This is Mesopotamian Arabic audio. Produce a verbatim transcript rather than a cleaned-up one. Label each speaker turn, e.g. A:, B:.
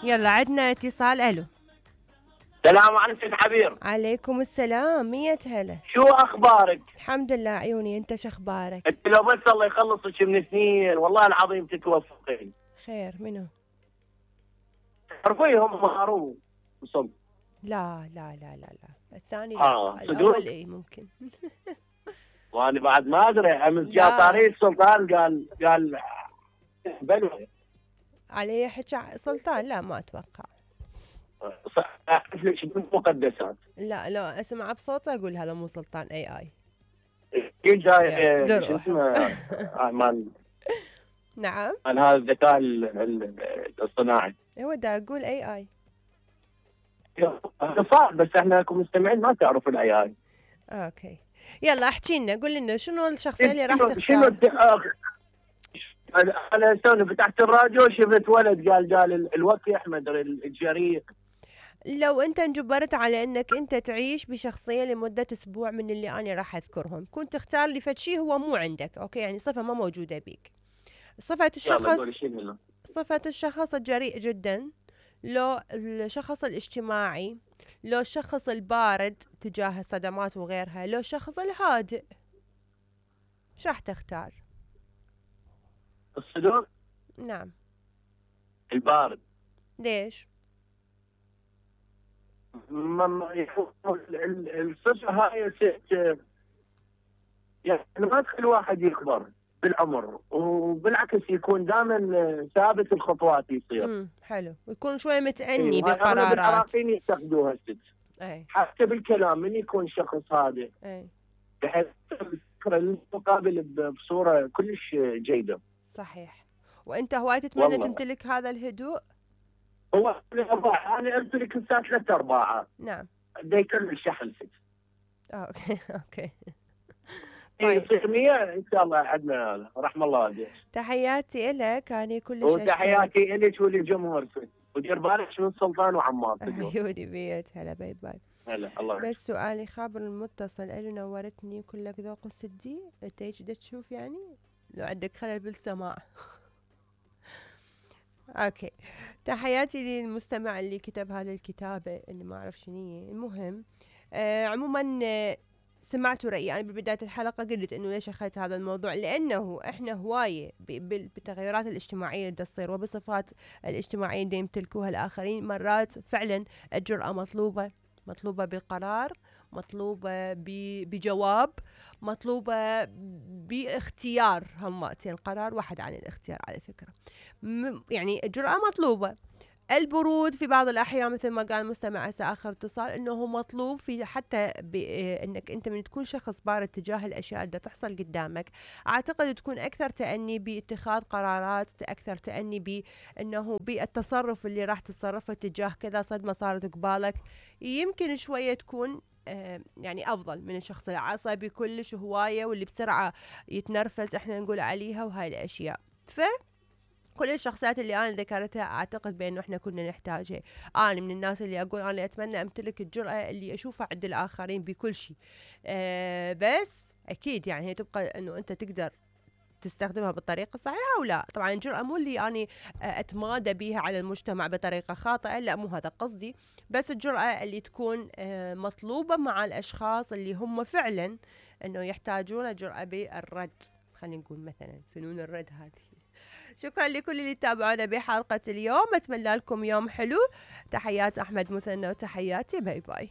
A: يلا عندنا اتصال. الو
B: السلام عليكم سيد حبير.
A: عليكم السلام، مية هلا.
B: شو اخبارك؟
A: الحمد لله عيوني، انت شو اخبارك؟
B: انت لو بس الله يخلصك من سنين والله العظيم تتوفقين.
A: خير منو؟
B: تعرفيهم هارون وصل؟
A: لا لا لا لا لا الثاني لا.
B: اه
A: الاول اي ممكن.
B: وانا بعد ما ادري. امس جاء طريق السلطان قال قال بلوى
A: عليه حكى سلطان. لا ما اتوقع.
B: اعرف لك مقدسات.
A: لا لا اسمع بصوته اقول هذا مو سلطان اي اي.
B: جاي شو اسمه مال
A: نعم
B: مال هذا الذكاء الصناعي.
A: هو دا اقول اي اي.
B: هذا صعب بس احنا كمستمعين ما تعرف الاي اي.
A: اوكي يلا احكي لنا، قول لنا شنو الشخصيه اللي راح تختار؟
B: شنو انا استنى فتحت الراديو شفت ولد قال قال الوكي احمد الجريء.
A: لو انت انجبرت على انك انت تعيش بشخصيه لمده اسبوع من اللي انا راح اذكرهم، كنت تختار لي فد شيء هو مو عندك، اوكي يعني صفه ما موجوده بيك. صفه الشخص صفه الشخص الجريء جدا، لو الشخص الاجتماعي، لو الشخص البارد تجاه الصدمات وغيرها، لو الشخص الهادئ. شو راح تختار؟
B: الصدور.
A: نعم.
B: البارد.
A: ليش؟
B: الصفة هاي ست يعني ما تخلي الواحد يكبر بالعمر، وبالعكس يكون دائما ثابت الخطوات يصير.
A: امم حلو، ويكون شوي متأني
B: إيه
A: بالقرارات.
B: العراقيين يستخدموها الست.
A: اي
B: حتى بالكلام من يكون شخص هادئ.
A: اي
B: بحيث الفكرة المقابل بصورة كلش جيدة.
A: صحيح. وانت هواي تتمنى تمتلك هذا الهدوء؟
B: هو انا امتلك الساعه ثلاثة أربعة.
A: نعم.
B: دا يكمل شحن ست.
A: اوكي اوكي.
B: طيب يصير مية ان شاء الله عندنا رحم الله والديك.
A: تحياتي لك انا كلش.
B: وتحياتي لك وللجمهور ودير بالك من سلطان وعمار.
A: عيوني بيت هلا باي باي.
B: هلا الله.
A: بس سؤالي خابر المتصل اللي نورتني كلك ذوق السدي، انت هيك تشوف يعني لو عندك خلل بالسماع. اوكي تحياتي للمستمع اللي كتب هذه الكتابة اللي ما اعرف شنية. المهم آه عموما آه سمعتوا رأيي أنا ببداية الحلقة، قلت إنه ليش أخذت هذا الموضوع، لأنه إحنا هواية بالتغيرات الاجتماعية اللي تصير وبصفات الاجتماعية اللي يمتلكوها الآخرين، مرات فعلا الجرأة مطلوبة، مطلوبة بقرار، مطلوبة بجواب، مطلوبة باختيار. همتين قرار واحد عن الاختيار على فكرة. يعني الجرأة مطلوبة. البرود في بعض الأحيان مثل ما قال مستمع هسه آخر اتصال إنه مطلوب في حتى إنك أنت من تكون شخص بارد تجاه الأشياء اللي تحصل قدامك، أعتقد تكون أكثر تأني باتخاذ قرارات، أكثر تأني بأنه بالتصرف اللي راح تتصرفه تجاه كذا صدمة صارت قبالك، يمكن شوية تكون يعني أفضل من الشخص العصبي كلش هواية واللي بسرعة يتنرفز إحنا نقول عليها وهاي الأشياء. ف كل الشخصيات اللي أنا ذكرتها أعتقد بأنه إحنا كنا نحتاجها. أنا من الناس اللي أقول أنا أتمنى أمتلك الجرأة اللي أشوفها عند الآخرين بكل شيء. أه بس أكيد يعني هي تبقى إنه أنت تقدر تستخدمها بالطريقة الصحيحة أو لا. طبعا الجرأة مو اللي أنا أتمادى بيها على المجتمع بطريقة خاطئة، لا مو هذا قصدي، بس الجرأة اللي تكون أه مطلوبة مع الأشخاص اللي هم فعلا إنه يحتاجون جرأة بالرد. خلينا نقول مثلا فنون الرد هذه. شكرا لكل اللي تابعونا بحلقة اليوم، أتمنى لكم يوم حلو. تحيات أحمد مثنى وتحياتي باي باي.